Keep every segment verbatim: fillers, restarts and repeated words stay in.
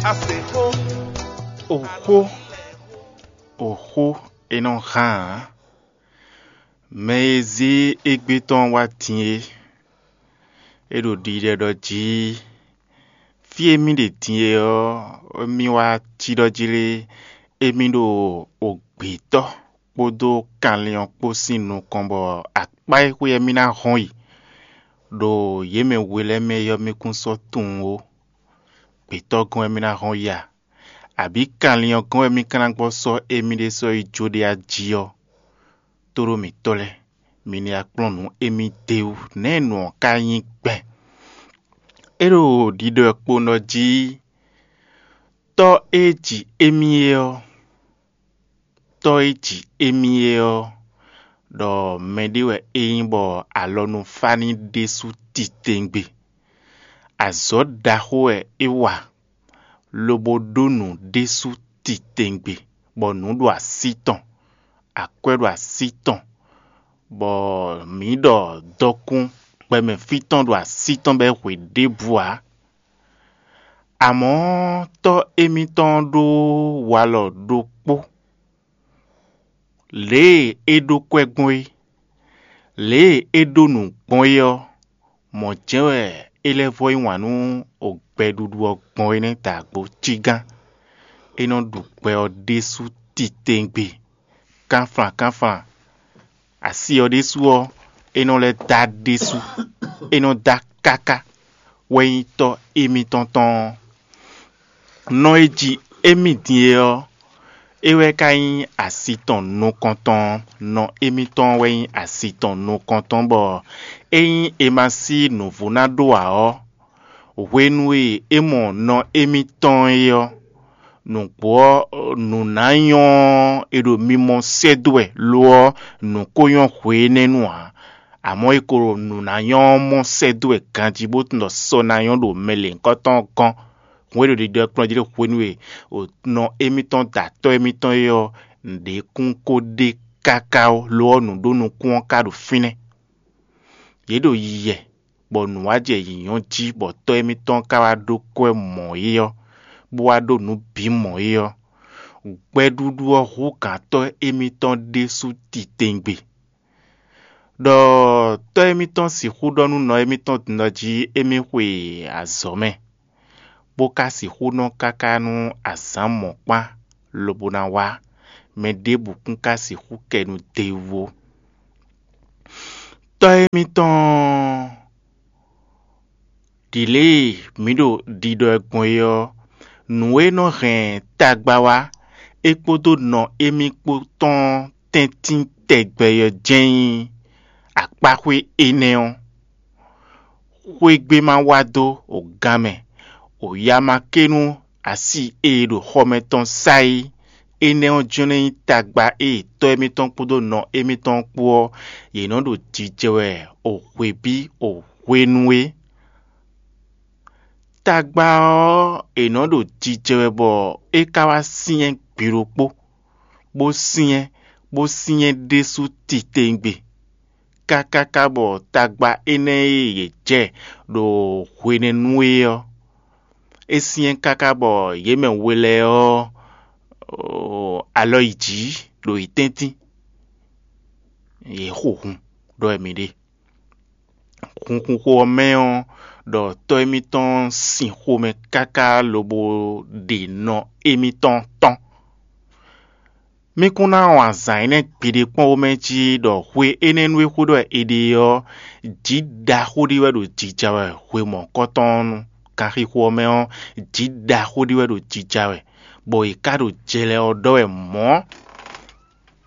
Axó, oxó, oxó e nɔ hán ǎ. Mɛ e zé égbé tɔn wá din é, é ɖo ɖiɖɛ ɖɔ jí fí e mì ɖe din é ɔ́, mì wá cí ɖɔ jí lé, émí ɖo ogbětɔ́ kpódó kanlin ɔ́ kpó sín nukɔn bɔ akpá e xwé ɔ́ mì ná hɔn yi ɖo yě mɛ we lɛ́ɛ mɛ é ɔ́, mì kún sɔ́ tunwun ó. Gbětɔ́ gɔ́n wɛ mì ná hɔn yi a? Abǐ kanlin ɔ́ gɔ́n wɛ mì ka ná gbɔ sɔ́ émí ɖésú yi jó ɖé a jí ɔ́, tóɖó mǐtɔn lɛ́ɛ, mi ní wá kplɔ́n nǔ émí d'é wú. Nɛ̌ nǔ ɔ́ ka nyí gbɛn? É ɖo ɖiɖɔ kponɔ jí, tɔ́ e ji émí é ɔ́, tɔ́ e ji émí é ɔ́, ɖɔ mɛɖé wɛ é nyí bɔ alɔnúfáni ɖésú titewungbe. Azɔ̌ ɖaxó wɛ é wa, lobo ɖó nǔ ɖésú titewungbe, bɔ nǔ ɖo así tɔn, akwɛ́ ɖo así tɔn, bɔ mǐ ɖɔ dɔkun gbɛmɛ fí tɔn ɖo así tɔn bɔ é hwe ɖěbǔ ǎ. Amɔ̌ tɔ́ émítɔn ɖó walɔ ɖokpó, lě e é ɖó kwɛ́ gbɔn é, lě e é ɖó nǔ gbɔn é ɔ́, mɔ̌ jɛ́n wɛ é lɛ́ vɔ́ yí wǎn nú gbɛɖuɖu ɔ́ gbɔn é nɛ́ da agbo cígán. É nɔ ɖu gbɛ ɔ́ ɖésú titewungbe, kánflan kánflan. Asi ɔ́ ɖésú ɔ́, é nɔ lɛ́ dá ɖésú, é nɔ dá káká, wɛ nyí tɔ́ émítɔn tɔn ɔ́. Nɔ e ji émí din é ɔ́, é wɛ ka nyí asi tɔn nukɔntɔn ɔ́. Nɔ émítɔn wɛ nyí asi tɔn nukɔntɔn, bɔ ényí è ma sí nǔvú ná ɖó ǎ ɔ́, hwenu e é mɔ nɔ émítɔn é ɔ́, nǔgbó ɔ́, nǔ ná nyɔ́ ɔ́, è ɖo mimɔ sɛ́ dó wɛ, lo ɔ́, nǔ ko nyɔ́ hwe énɛ́ nu ǎ. Amɔ̌, è ko ɖo nǔ ná nyɔ́ ɔ́ mɔ sɛ́ dó wɛ ganjí, bó tunwun ɖɔ sɔ ná nyɔ́ ɖo mɛ lěhunkɔtɔn ɔ́ gɔ́n. Hǔn e ɖo ɖiɖɔ kplɔ́n jí ɖo hwenu e nɔ émítɔn da tɔ́ émítɔn é ɔ́, nǔɖé kún ko ɖe káká ó, lo ɔ́, nǔɖonukún ɔ́ ka ɖo fínɛ́. Yě ɖo yiyɛ, bɔ nǔ wá jɛ yǐnyɔ́ jí, bɔ tɔ́ émítɔn ka wá ɖó kwɛ́ mɔ̌ é ɔ́, bó wá ɖó nǔ bǐ mɔ̌ é ɔ́, gbɛɖuɖu ɔ́ hú gǎntɔ́ émítɔn ɖésú titewungbe. Ɖɔ tɔ́ émítɔn sixú ɖɔ nú nɔ émítɔn din ɔ́ jí émí xwe azɔ̌ mɛ, bó ka sixú nɔ káká nú azǎn mɔ̌kpán lobo ná wá, mɛ ɖěbǔ kún ka sixú kɛ nu d'é wú ó. Tɔ́ émítɔn ɖi lě e mǐ ɖo ɖiɖɔ ɛ gbɔn é ɔ́, nǔ e nɔ hɛn tagba wá, é kpódó nɔ émí kpó tɔn tɛ́ntin tɛgbɛ ɔ́ jɛ́n nyí akpáxwé énɛ́ ɔ́. Xwé gbé ma wá dó o gan mɛ, o ya ma ké nú asi e ɖo xɔ mɛ tɔn sá é. Énɛ́ ɔ́ jɛ́n nɔ nyí tagba e tɔ́ émítɔn kpódó nɔ émítɔn kpó ɔ́, yě nɔ ɖo jijɛ wɛ o hwebí o hwenu é. Tagba ɔ́, è nɔ ɖo jijɛ wɛ bɔ é ka wá syɛ́n gbe ɖokpó, bó syɛ́n, bó syɛ́n ɖésú titewungbe, kákáká bɔ tagba énɛ́ e yě jɛ ɖo hwenɛ́nu é ɔ́, é syɛ́n káká bɔ yě mɛ we lɛ́ɛ ɔ́, alɔ yi jǐ ɖo yě tɛ́ntin, yě xo hun ɖɔ wɛ mǐ ɖe. Hunhunxo ɔ́ mɛ ɔ́, ɖɔ tɔ́ émítɔn sin xomɛ káká lobo ɖe nɔ émítɔn tɔn. Mí kún ná wɔn azǎn énɛ́ gbeɖé kpɔ́n womɛ jí ɖɔ hwe énɛ́ nú é xwé ɖɔ è ɖe ɔ́, jǐ ɖaxó ɖé wɛ ɖo jija wɛ hwe mɔ̌kɔtɔn ɔ́ nu. Ganxixo ɔ́ mɛ ɔ́, jǐ ɖaxó ɖé wɛ ɖo jija wɛ, bɔ è ká ɖo jɛ lɛ́ɛ ɔ́ ɖɔ wɛ mɔ̌,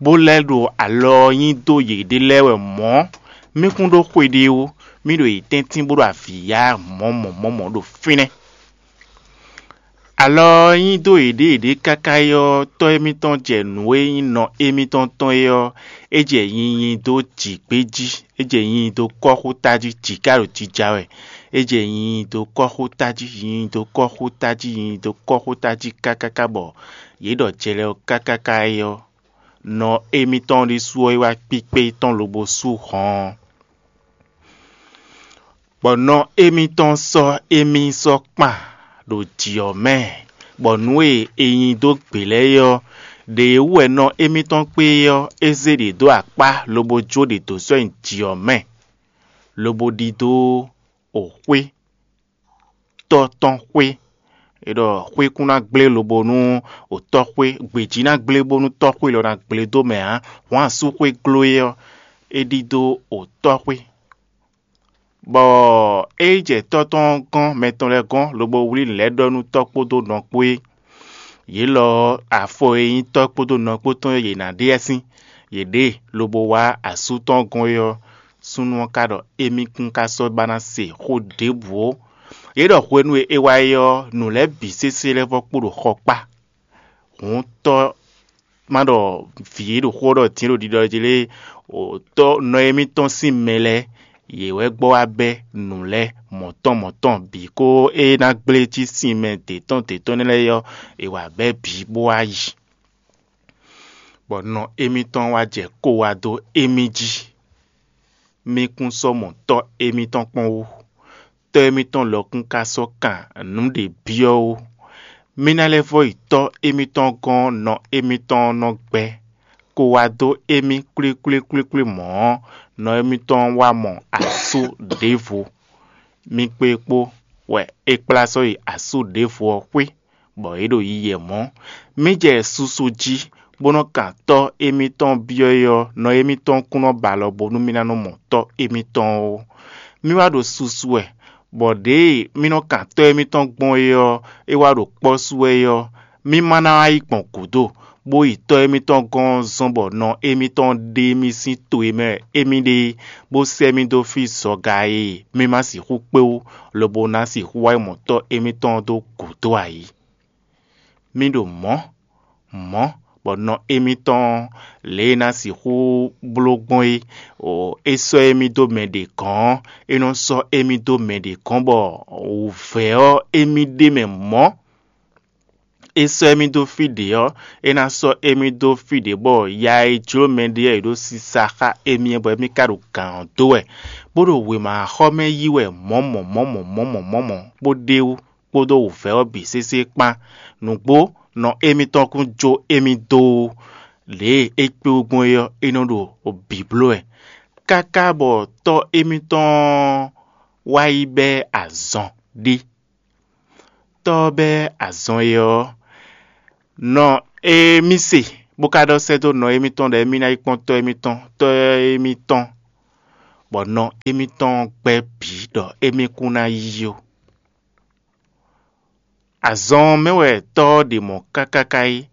bó lɛ́ ɖo alɔ ɔ́ nyi dó yěɖée lɛ́ɛ wɛ mɔ̌. Mí kún ɖó xwe ɖé ó, mí ɖo yě tɛ́ntin bó ɖo avǐ yá mɔ̌ mɔ̌ mɔ̌ mɔ̌ ɖo fínɛ́. Alɔ ɔ́ nyi dó yěɖée yěɖée káká é ɔ́, tɔ́ émítɔn jɛ nǔ e nyí nɔ émítɔn tɔn é ɔ́, é jɛ nyinyi dó jǐ gbé jí, é jɛ nyinyi dó kɔ́xota jí, jǐ ka ɖo jija wɛ. É jɛ nyinyi dó kɔ́xota jí, nyinyi dó kɔ́xota jí, nyinyi dó kɔ́xota jí kákáká bɔ yě ɖɔ jɛ lɛ́ɛ ɔ́ kákáká é ɔ́, nɔ émítɔn ɖésú ɔ́ yi wá kpíkpé tɔn lobo sú hɔn ɔ́. Bɔ nɔ émítɔn sɔ́ émí sɔ́ kpan ɖo jǐ ɔ́ mɛ, Bɔ nǔ e è nyi dó gbě lɛ́ɛ é ɔ́, ɖě e wú wɛ nɔ émítɔn kpé é ɔ́, é zé ɖě dó akpá lobo jó ɖě dó sɔ́ nyi jǐ ɔ́ mɛ, lobo ɖidó o xwé tɔ́ tɔn xwé. É ɖɔ xwé kún ná gblé lobo nú o tɔ́ xwé, gbějí ná gblé bónú tɔ́ xwé lɔ ná gblé dó mɛ ǎ. Hwǎn asú xwé gló é ɔ́, é ɖidó o tɔ́ xwé. Bɔ é yi jɛ tɔ́ tɔn gɔ́n mɛ tɔn lɛ́ɛ gɔ́n lobo wlí nǔ lɛ́ɛ ɖɔ nú tɔ́ kpódó nɔ kpó é. Yě lɔ ɔ́, afɔ e nyí tɔ́ kpódó nɔ kpó tɔn e yě ná ɖe ɛ sín, yě ɖe lobo wá asú tɔn gɔ́n é ɔ́, súnnu ɔ́ ka ɖɔ émí kún ka sɔ́ ba ná se xó ɖěbǔ ó. Yě ɖɔ hwenu e é wá é ɔ́, nǔ lɛ́ɛ bǐ sésé lɛ́ɛ vɔ́ kpo ɖo xɔ kpá. Hǔn tɔ́ ma ɖɔ vǐ e ɖo xó ɖɔ din ɖo ɖiɖɔ jí lé, tɔ́ nɔ émítɔn sín mɛ lɛ́ɛ, yě wɛ gbɔ wá bɛ́ nǔ lɛ́ɛ mɔ̌tɔn mɔ̌tɔn bǐ, có é ná gblé cí sin mɛ dě tɔn dě tɔn nɛ́ lɛ́ɛ ɔ́, è wǎ bɛ́ bǐ bó wá yi. Bɔ nɔ émítɔn wá jɛ kó wá dó émí jí. Mí kún sɔ́ mɔ tɔ́ émítɔn kpɔ́n wú. Tɔ́ émítɔn lɔ kún ka sɔ́ kan nǔ ɖě byɔ́ ó. Mí ná lɛ́ vɔ́ yi tɔ́ émítɔn gɔ́n nɔ émítɔn nɔ gbɛ́, ko wá dó émí kwlíkwlíkwlíkwlí mɔ̌ ɔ́, nɔ émítɔn wá mɔ asú ɖěvo. Mí kpé kpó wɛ é kplá sɔ́ yi asú ɖěvo ɔ́ xwé, bɔ é ɖo yiyi mɔ̌. Mí jɛ susu jí, bó nɔ́ kan tɔ́ émítɔn byɔ́ é ɔ́, nɔ émítɔn kún nɔ ba alɔ bónú mí ná nɔ mɔ tɔ́ émítɔn ó. Mí wá ɖo susu wɛ, bɔ ɖěe mí nɔ kan tɔ́ émítɔn gbɔn é ɔ́, é wá ɖo kpɔ́ sú wɛ é ɔ́, mí ma ná wá yi gbɔn gǔdo, bó yi tɔ́ émítɔn gɔ́n zɔ́n bɔ nɔ émítɔn ɖe mì sín to e mɛ émí ɖe é, bó sɛ́ mì dó fí zɔga e mì ma sixú kpé wú, lobo ná sixú wá yi mɔ tɔ́ émítɔn dó gǔdo ǎ é. Mì ɖo mɔ̌, mɔ̌, bɔ nɔ émítɔn lě e ná sixú bló gbɔn é, é sɔ́ émí dó mɛ ɖě gɔ̌n ɔ́, é nɔ sɔ́ émí dó mɛ ɖě gɔ́n bɔ wǔvɛ́ ɔ́ émí ɖ'é mɛ mɔ̌. É sɔ́ émí dó fí ɖě ɔ́, é ná sɔ́ émí dó fí ɖě bɔ ya e jló mɛɖé ɔ́, è ɖó sisa xá émí ɔ́, bɔ émí ka ɖo gǎn ɔ́ dó wɛ, bó ɖo wěma xɔ mɛ yí wɛ mɔ̌mɔ̌ mɔ̌mɔ̌ mɔ̌mɔ̌ mɔ̌mɔ̌, bó ɖ'é wú kpódó wǔvɛ́ ɔ́ bǐ sésé kpán. Nǔgbó nɔ émítɔn kún jó émí dó ó. Lě e é kpé wú gbɔn é ɔ́, é nɔ ɖo bǐ bló wɛ, káká bɔ tɔ́ émítɔn ɔ́ wá yi bɛ́ azɔn ɖé. Tɔ́ ɔ́ bɛ́ azɔn e ɔ́, nɔ e mì se, bó ka ɖɔ sɛ́ dó nɔ émítɔn ɖɔ émí ná yi kpɔ́n tɔ́ émítɔn, tɔ́ émítɔn, bɔ nɔ émítɔn gbɛ́ bǐ ɖɔ émí kún ná yí ó. Azɔn ɔ́ mɛ wɛ tɔ́ ɔ́ ɖe mɔ̌ káká káká é.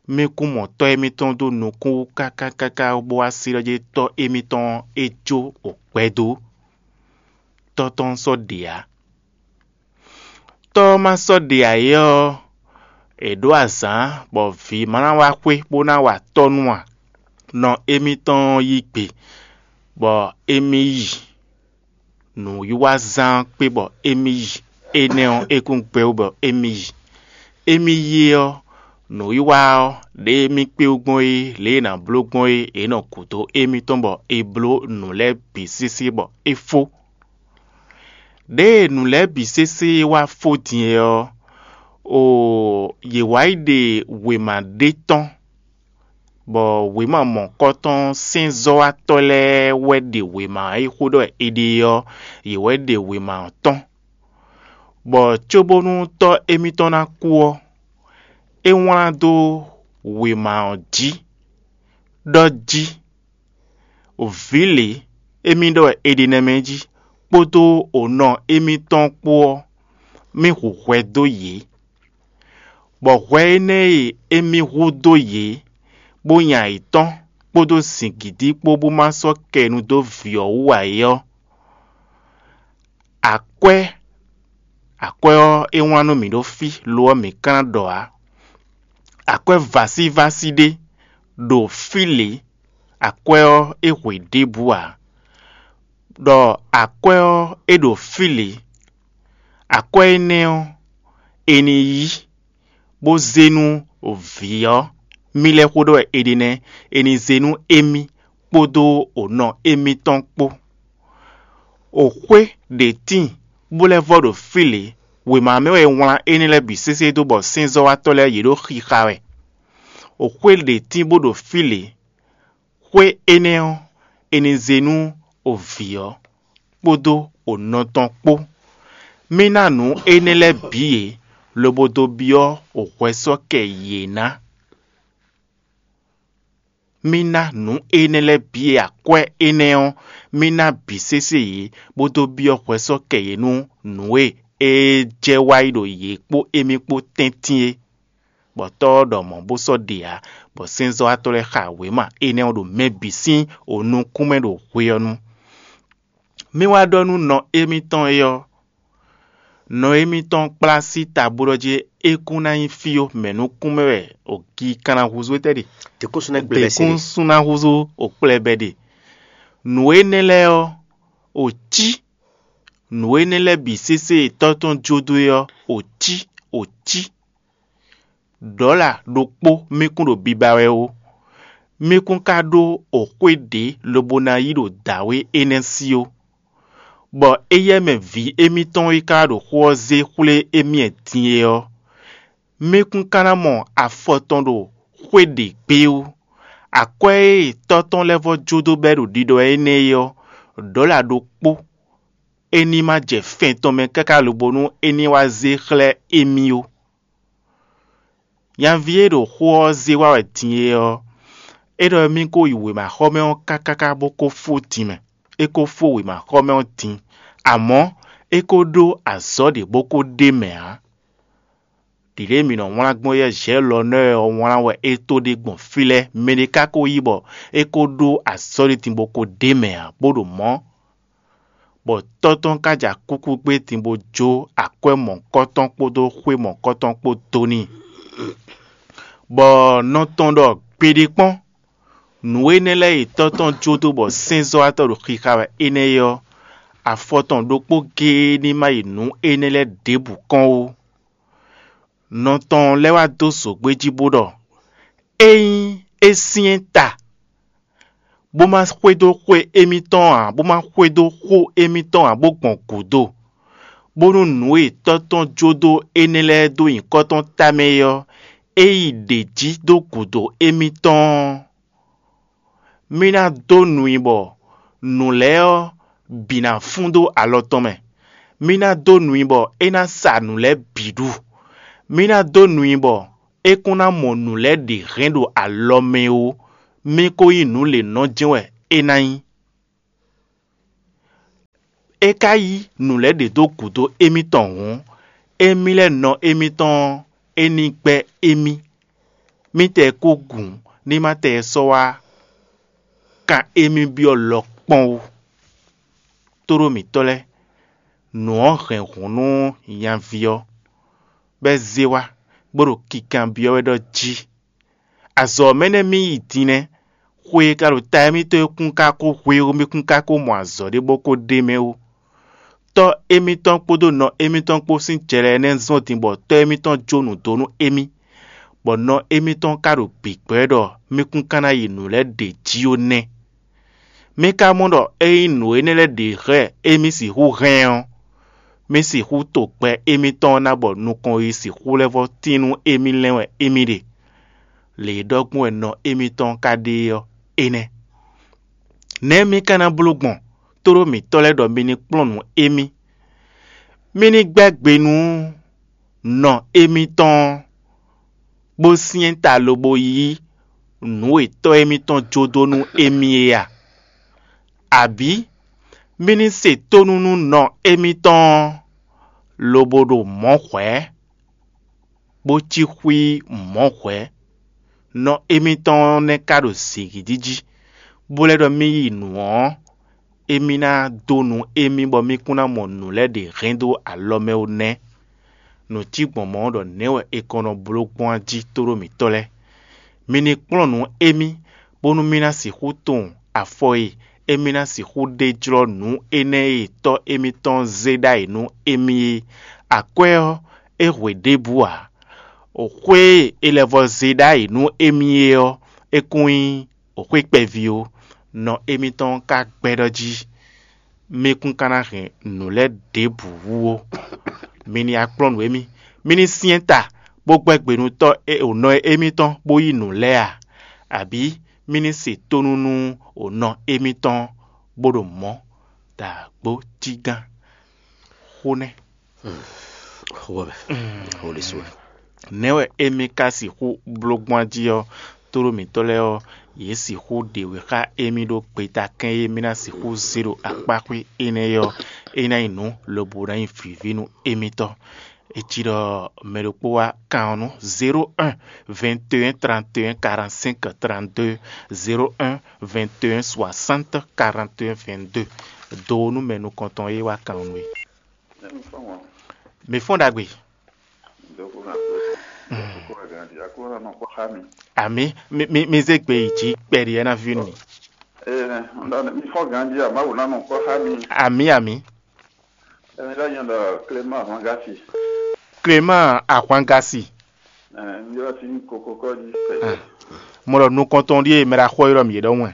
Mì kún mɔ tɔ́ émítɔn dó nukún wú káká káká bó wá sí ɖɔ jí tɔ́ émítɔn ɔ́ é jó gbɛ dó. Tɔ́ tɔn sɔ́ ɖe ǎ. Tɔ́ ɔ́ ma sɔ́ ɖe ǎ é ɔ́, è ɖǒ azǎn bɔ vǐ ma ná wá xwé bó ná wa tɔ́ nú ǎ. Nɔ émítɔn ɔ́ yí gbe, bɔ émí yi. Nǔwiwa zán ɔ́ kpé bɔ émí yi. Énɛ́ ɔ́, é kún gbɛ́ wú bɔ émí yi. Émí yi ɔ́, nǔwiwa ɔ́, ɖě émí kpé wú gbɔn é, lě e è nǎ bló gbɔn é, è nɔ gǔdo émítɔn bɔ è bló nǔ lɛ́ɛ bǐ sésé bɔ é fó. Ɖěe nǔ lɛ́ɛ bǐ sésé wá fó din é ɔ́, oo, yě wá yi ɖe wěma ɖé tɔn, bɔ wěma mɔ̌kɔtɔn sɛ́nzɔ́watɔ́ lɛ́ɛ wɛ ɖe wěma e xó ɖɔ è ɖe ɔ́, yě wɛ ɖe wěma ɔ́ tɔn. Bɔ cóbónú tɔ́ émítɔn ná kú ɔ́, é wlán dó wěma ɔ́ jí, ɖɔ jí: Vǐ lě, émí ɖɔ wɛ è ɖe nɛ́ mɛ jí, kpódó onɔ émítɔn kpó ɔ́, mì hu hwɛ dó yě. Bɔ hwɛ énɛ́ e émí hu dó yě, bó nya yětɔn kpódó zǐngídi kpó bó ma sɔ́ kɛ nu dó vǐ ɔ́ wú ǎ é ɔ́, akwɛ́, akwɛ́ ɔ́, é wlán nú mǐ ɖó fí; lo ɔ́, mǐ ka ná ɖɔ ǎ. Akwɛ́ vásívásí ɖé ɖo fí lě; akwɛ́ ɔ́, é hwe ɖěbǔ ǎ. Ɖɔ akwɛ́ ɔ́, é ɖo fí lě; akwɛ́ énɛ́ ɔ́, è nǐ yí, bó zé nú vǐ ɔ́, mì lɛ́ xó ɖɔ wɛ è ɖe nɛ́; è nǐ zé nú émí kpódó onɔ émítɔn kpó. Oxwé ɖě tíin, bó lɛ́ vɔ́ ɖo fí lě, Wěma mɛ wɛ è wlán énɛ́ lɛ́ɛ bǐ sésé dó bɔ sɛ́nzɔ́watɔ́ lɛ́ɛ yě ɖo xixa wɛ. Xwé ɖě tín bó ɖo fí lě. Xwé énɛ́ ɔ́, è nǐ zé nú o vǐ ɔ́ kpódó o nɔ tɔn kpó. Mì ná nǔ énɛ́ lɛ́ɛ bǐ yě, lobo dó byɔ́ o hwɛsɔ́kɛ yě ná. Mì ná nǔ énɛ́ lɛ́ɛ bǐ e akwɛ́ énɛ́ ɔ́, mì ná bǐ sésé yě, bó dó byɔ́ hwɛsɔ́kɛ yě nú nǔ e é jɛ wá yi ɖo yě kpó émí kpó tɛ́ntin é. Bɔ Tɔ́ ɔ́ ɖɔ mɔ̌ bó sɔ́ ɖe ǎ, bɔ sɛ́nzɔ́watɔ́ lɛ́ɛ xa wěma énɛ́ ɔ́ ɖo mɛ bǐ sín nukún mɛ ɖo hwe ɔ́ nu. Mì wá ɖɔ nú nɔ émítɔn é ɔ́, nɔ émítɔn kplá sí ta bó ɖɔ jí é kún ná nyí fí ó, mɛ̌ nukún mɛ wɛ o gi kan ná húzú étɛ́ ɖe? Dě kún sú ná gblé bɛ́ se ɖe. Dě kún sú ná húzú o kplɛ́ bɛ́ ɖe. Nǔ énɛ́ lɛ́ɛ ɔ́, o cí. Nǔ énɛ́ lɛ́ɛ bǐ sésé e Tɔ́ tɔn jó dó é ɔ́, o cí, o cí. Ɖɔ̌la ɖokpó mì kún ɖo biba wɛ ó. Mì kún ka ɖó o xwé ɖě lobo ná yí ɖo dǎwe énɛ́ sí ó. Bɔ éyɛ́ mɛ vǐ émítɔn e ka ɖo xó ɔ́ zé xwlé émí din é ɔ́, mì kún ka ná mɔ afɔ tɔn ɖo xwé ɖě gbé ó. Akwɛ́ e Tɔ́ tɔn lɛ́ vɔ́ jó dó bɛ́ ɖo ɖiɖɔ wɛ énɛ́ é ɔ́, ɖɔ̌la ɖokpó é ní ma jɛ fɛn tɔn mɛ káká lobo nú é ní wá zé xlɛ́ émí ó. Nyaví e ɖo xó ɔ́ zé wá wɛ din é ɔ́, é ɖɔ émí ko yi wěmaxɔmɛ ɔ́ kákáká bó ko fó din mɛ. É ko fó wěmaxɔmɛ ɔ́ din, amɔ̌ é ko ɖó azɔ̌ ɖě bó ko ɖ'é mɛ ǎ. Ɖiɖe e mǐ nɔ wlán gbɔn yɛ Zhɛ̌lɔnɛ́ ɔ́ wlán wɛ é tó ɖe gbɔn fí lɛ́ɛ; mɛɖé ka ko yí bɔ é ko ɖó azɔ̌ ɖé din bó ko ɖ'é mɛ ǎ, bó ɖo mɔ̌, bɔ Tɔ́ tɔn ka ja kúkú gbé din bó jó akwɛ́ mɔ̌kɔtɔn kpódó xwé mɔ̌kɔtɔn kpó dó n'i. Bɔ nɔ tɔn ɖɔ gbeɖé kpɔ́n, nǔ énɛ́ lɛ́ɛ e Tɔ́ tɔn jó dó bɔ sɛ́nzɔ́watɔ́ ɖo xixa wɛ énɛ́ é ɔ́, afɔ tɔn ɖokpó géé ní ma yi nǔ énɛ́ lɛ́ɛ ɖěbǔ kɔn ó. Nɔ tɔn lɛ́ wá dó zǒgbé jí bó ɖɔ: Ényí é syɛ́n ta, bó má xwedó xwe émítɔn ǎ, bó má xwedó xó émítɔn ǎ, bó gbɔn gǔdo, bónú nǔ e Tɔ́ tɔn jó dó énɛ́ lɛ́ɛ dó nyǐkɔ tɔn tamɛ é ɔ́, é yi ɖě jí dó gǔdo émítɔn ɔ́, mì ná dó nu i bɔ nǔ lɛ́ɛ ɔ́ bǐ ná fún dó alɔ tɔn mɛ. Mì ná dó nu i bɔ é ná sa nǔ lɛ́ɛ bǐ ɖu. Mì ná dó nu i bɔ é kún ná mɔ nǔ lɛ́ɛ ɖě hɛn ɖo alɔ mɛ ó; mì ko nyí nǔ lě nɔ jɛ́n wɛ é ná nyí. É ka yí nǔ lɛ́ɛ ɖě dó gǔdo émítɔn hǔn, émí lɛ́ɛ nɔ émítɔn ɔ́, é ní gbɛ́ émí. Mítɛɛ kó gǔn ní ma tɛ sɔ́ wá kan émí byɔ́ lɔ kpɔ́n wú. Tóɖó mǐtɔn lɛ́ɛ, nǔ ɔ́ hɛn hǔn nú nyaví ɔ́, bɔ é zé wá, bó ɖo kinkanbyɔ́ wɛ ɖɔ jí: Azɔ̌ ɔ́ mɛ nɛ́ mì yi din nɛ́; xwe e ka ɖo ta émítɔn é kún ka ko hwe ó, mì kún ka ko mɔ azɔ̌ ɖé bó ko ɖ'é mɛ ó. Tɔ́ émítɔn kpódó nɔ émítɔn kpó sín jɛ lɛ́ɛ nɛ́ zɔ́n din bɔ tɔ́ émítɔn jó nǔ dó nú émí, bɔ nɔ émítɔn ka ɖo bǐgbɛ́ ɖɔ mì kún ka ná yi nǔ lɛ́ɛ ɖě jí ó nɛ́. Mì ka mɔ ɖɔ ényí nǔ énɛ́ lɛ́ɛ ɖě hɛn émí sixú hɛn ɔ́, mì sixú to gbɛ émítɔn ná bɔ nukɔn yi sixú lɛ́ vɔ́ tín nú émí lɛ́n wɛ émí ɖe. Lě e ɖɔ gbɔn wɛ nɔ émítɔn ka ɖe ɔ́, é nɛ́. Nɛ̌ mì ka ná bló gbɔn, tóɖó mǐtɔn lɛ́ɛ ɖɔ mi ní kplɔ́n nǔ émí? Mì ní gbɛ́ gbe nú nɔ émítɔn ɔ́, bó syɛ́n ta lobo yí nǔ e tɔ́ émítɔn jó dó nú émí é a? Abǐ mì ní se tónú nú nɔ émítɔn ɔ́, lobo ɖo mɔ̌ hwɛ̌, bó cí xwí mɔ̌ hwɛ̌? Nɔ émítɔn ɔ́ nɛ́ ka ɖo zǐngídi jí, bó lɛ́ ɖɔ mì yi nǔ ɔ́, émí ná dó nu émí bɔ mì kún ná mɔ nǔ lɛ́ɛ ɖě hɛn dó alɔ mɛ ó nɛ́. Nǔ cí gbɔn mɔ̌ ɖɔ nɛ̌ wɛ è kɔn nɔ bló gbɔn a jí tóɖó mǐtɔn lɛ́ɛ. Mi ní kplɔ́n nǔ émí, bónú mì ná sixú tunwun afɔ e émí ná sixú ɖe jlɔ́ nǔ énɛ́ e tɔ́ émítɔn zé ɖ'ayǐ nú émí é. Akwɛ́ ɔ́, é hwe ɖěbǔ ǎ. Xwé e è lɛ́ vɔ́ zé ɖ'ayǐ nú émí é ɔ́, é kún nyí xwé kpɛví ó. Nɔ émítɔn ka gbɛ́ ɖɔ jí mì kún ka ná hɛn nǔ lɛ́ɛ ɖěbǔ wú ó. Mi ní akplɔ́nǔ émí, mi ní syɛ́n ta, bó gbɛ́ gbe nú tɔ́ e ònɔ émítɔn bó yí nǔ lɛ́ɛ a? Abǐ mi ní se tónú nú ònɔ émítɔn bó ɖo mɔ̌ dǎgbó cí gán? Xó nɛ́. Xó wɛ mɛ. Xó ɖésú wɛ. Nɛ̌ wɛ émí ka sixú bló gbɔn jí ɔ́, tlóló mǐtɔn lɛ́ɛ ɔ́, yě sixú ɖe wě xá émí ɖó gbeta kɛ́n e mí ná sixú zé ɖo akpáxwé énɛ́ ɔ́, é ná nyí nǔ lobo ná nyí vǐví nú émítɔn. É cí ɖɔ mɛ ɖokpó wá kan ɔ́ nú zéro un vingt et un trente et un quarante-cinq trente-deux, zéro un vingt et un soixante quarante et un vingt-deux. Do nú mɛ nukɔntɔn e wá kan ɔ́ nú é. Mǐ fɔ́n ɖagbe. Amǐ. Mi zé gbe yi jǐ kpɛɖi ɛ ná ví nú mi. Ee, mi fɔ ganji a Mawu ná nɔ kpɔ́ xá mi. Amǐ amǐ. Emi lɛ nyɔ ɖɔ Clément Ahwangasi. Clément Ahwangasi. Ɛɛ, n ylɔ si nyí koko kɔji. Mo ɖɔ nukɔntɔn ɖíe mɛ ɖo axɔ ylɔ mǐ é ɖɔhun wɛ.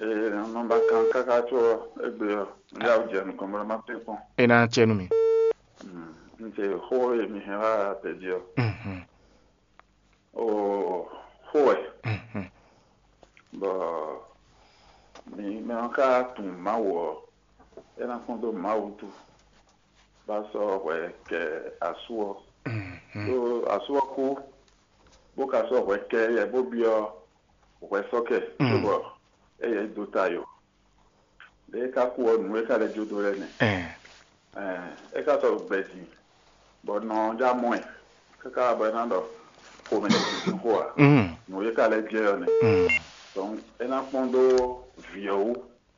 Ee, nɔ ba kan káká tso egbe ɔ, n yá jɛ nukɔn mɛ ma tɛ kpɔn. É ná cɛ nú mi. N te xó e mi hɛn wá tɛ jí ɔ. Mhm. Oo, xó wɛ. Mhm. Bɔ mi mɛ ɔ́ ka tunwun Mawu ɔ́, é ná kpɔ́n dó Mawu wútu, bó ná sɔ́ hwɛ kɛ asú ɔ́. Mhm. Ɖó asú ɔ́ kú, bó ka sɔ́ hwɛ kɛ éyɛ́ bó byɔ́ hwɛ sɔ́ kɛ, cóbɔ éyɛ́ dó ta yo. Ɖěe é ka kú ɔ́, nǔ e ka lɛ́ jó dó lɛ́ɛ nɛ́. Ɛɛ. Ɛɛ, é ka sɔ́ gbɛ din, bɔ nɔ ɔ́ já mɔ ɛ, káká bɔ é ná ɖɔ xomɛ ní xo ǎ. Mm. Nǔ e ka lɛ́ jɛ ɔ́ nɛ́. Mm. Donc é ná kpɔ́n dó vǐ ɔ́ wú,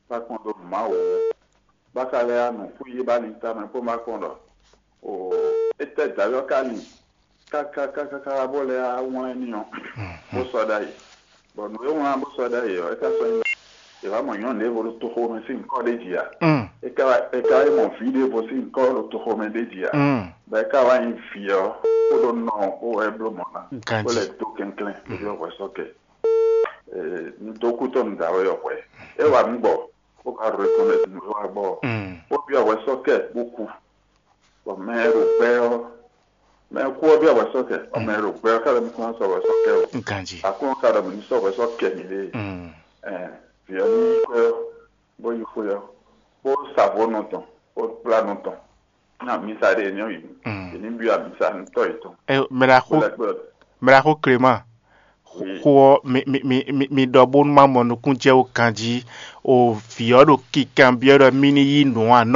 bá kpɔ́n dó Mawu wú, bá ka lɛ́ yá nǔ xwí é bá lin tamɛ kpó má kpɔ́n ɖɔ o étɛ́ dǎwe ɔ́ ka lin kákákákáká bó lɛ́ yá wlán n'i ɔ́, bó sɔ́ ɖ'ayǐ. Bɔ nǔ e wlán bó sɔ́ ɖ'ayǐ ɔ́, é ka sɔ́ nyí è wǎ mɔ nyɔ̌nu ɖěvo ɖo toxo mɛ sín nyǐkɔ ɖé jí ǎ. Mm. É ka wá é ka wá yi mɔ vǐ ɖěvo sín nyǐkɔ ɖo toxo mɛ ɖé jí ǎ. Mm. Bɔ é ka wá nyí vǐ ɔ́, kpódó nɔ ɔ́ kpó wɛ é bló mɔ̌ ná, Ganjí. Kó lɛ́ dó kɛnklɛ́n, bó byɔ́ hwɛ sɔ́ kɛ. Ee, un dó kú tɔn un da wɛ ɔ́ hwɛ. É wá nǔ gbɔ, bó ka ɖo reconnaître nǔ e wá gbɔ ɔ́. Mm. Bó byɔ́ hwɛ sɔ́ kɛ bó kú. Bɔ mɛ e ɖo gbɛ ɔ́, mɛ e kú ɔ́ byɔ́ hwɛ sɔ́ kɛ, bɔ mɛ e ɖo gbɛ ɔ́ ka lɛ́ mɔ kó ná sɔ́ hwɛ sɔ́ kɛ o. Ganjí. Aklúnɔ ka ɖɔ mǐ ní sɔ́ hwɛ sɔ́ kɛ mǐɖée. Mm. Ɛɛ, vǐ ɔ́ ní yi xwé ɔ́, bó yi xwé ɔ́, bó sa vo nɔ tɔn, bó kplá nɔ tɔn. Ná mǐsa ɖé ní ɔ́ yi. Mm. Yě ní byɔ́ amǐsa nú tɔ́ yětɔn. Ɛ, mɛ ɖaxó, Bó lɛ́ kpe ɔ́. Mɛ ɖaxó Clément, Oui. Xó ɔ́, mi, mi, mi, mi, mi ɖɔ bónú má mɔ nukúnjɛ ó ganjí. O vǐ ɔ́ ɖo kikanbyɔ́ ɖɔ mí ní yí nǔ a nɔ